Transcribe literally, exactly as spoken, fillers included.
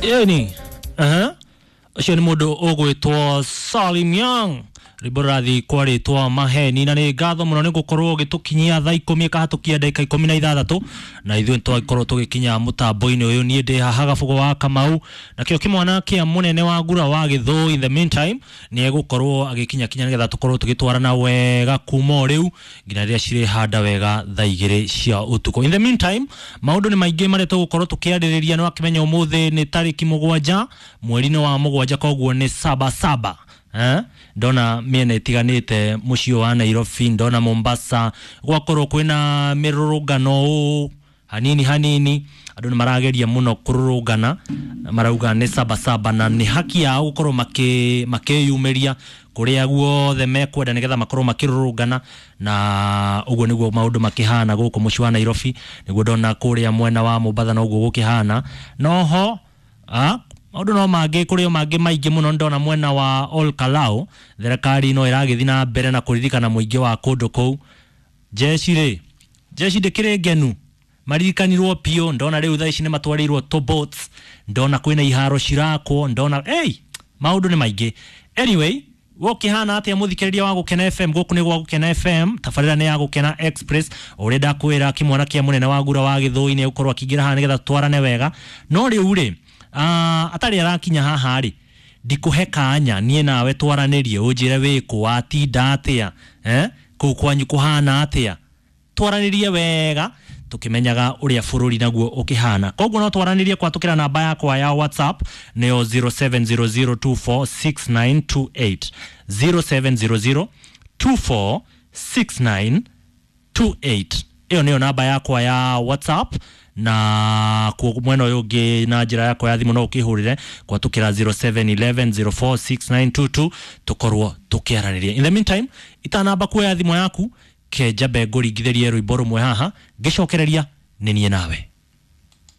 Ĩni aha ũcio nĩ mũndũ ũgwĩtwo Salim Young, rwĩmbo rũrathiĩ kwa rĩtwa Maheni. Na nĩ ngatho mũno nĩ gũkorwo ũgĩtũkinyia thaa ikũmi ĩkahatũkia ndagĩka ikũmi na ithathatũ, na ithuĩ nĩtwakorwo tũgĩkinya mũtambo-inĩ ũyũ. Niĩ ndĩ haha Gabugo wa Kamau, nakĩo kĩmwana kĩa mũnene wa ngura wa Gĩthũi in the meantime nĩ egũkorwo agĩkinya kinya nĩgetha tũkorwo tũgĩtwarana wega kuma o rĩu nginya rĩrĩa cirĩhanda wega thaa igĩrĩ cia ũtukũ. In the meantime, maũndũ nĩ maingĩ marĩa tũgũkorwo tũkĩarĩrĩria. Nĩ wakĩmenya ũmũthĩ nĩ tarĩki mũgwanja mweri-inĩ wa mũgwanja, koguo nĩ saba saba. Eh? Ndona mĩena ĩtiganĩte mũciĩ wa Nairobi, ndona Mombasa gwakorwo kwĩna mĩrũrũngano ũũ hanini hanini, andũ nĩ marageria mũno kũrũrũngana, marauga nĩ saba saba na nĩ haki yao gũkorwo makĩ makĩyumĩria kũrĩa guothe mekwenda nĩgetha makorwo makĩrũrũngana, na ũguo nĩguo maũndũ makĩhana gũkũ mũciĩ wa Nairobi. Nĩguo ndona kũrĩa mwena wa Mombasa noguo gũkĩhana. Noho ah, maũndũ no mangĩ kũrĩ o mangĩ maingĩ mũno. Ndona mwena wa Ol Kalou thirikari no ĩragĩthiĩ na mbere na kũririkana mũingĩ wa kũndũ kũu. Jeshi rĩ, jeshi ndĩkĩrĩ ngenu, maririkanirwo biũ. Ndona rĩu thaa ici nĩ matwarĩirwo tobots, ndona kwĩna iharo cirakwo, ndona hey, maũndũ nĩ maingĩ. Anyway, gũkĩhana atĩa mũthikĩrĩria wa Gũkena F M? Gũkũ nĩ gwa Gũkena F M, tabarĩra nĩ ya Gũkena Express. Ũrĩa ndakwĩra, kĩmwana kĩa mũnene wa ngura wa Gĩthũi nĩ egũkorwo akĩingĩra haha nĩgetha tũtwarane wega. No rĩu rĩ, uh, atarĩ arakinya haha rĩ, ndikũhe kanya niĩ nawe twaranĩrie, ũnjĩre wĩkũ, watinda atĩa, eh? Kũu kwanyu kũhana atĩa, twaranĩrie wega tukimenyaga uria bururi naguo ukihana. Koguo no twaranĩrie kwatũkĩra namba yakwa ya WhatsApp, nĩyo zero seven zero zero two four six nine two eight, zero seven zero zero two four six nine two eight. Ĩyo nĩyo namba yakwa ya WhatsApp, na kuo mwena ũyũ ũngĩ na njĩra yakwa ya thimũ no ũkĩhũrĩre kwatũkĩra zero seven eleven zero four six nine two two, tũkorwo tũkĩaranĩria. In the meantime, itanamba kuoya thimũ yaku, kenjambe ngũringithĩrie rwĩmbo rũmwe haha, ngĩcokereria nĩ niĩ nawe.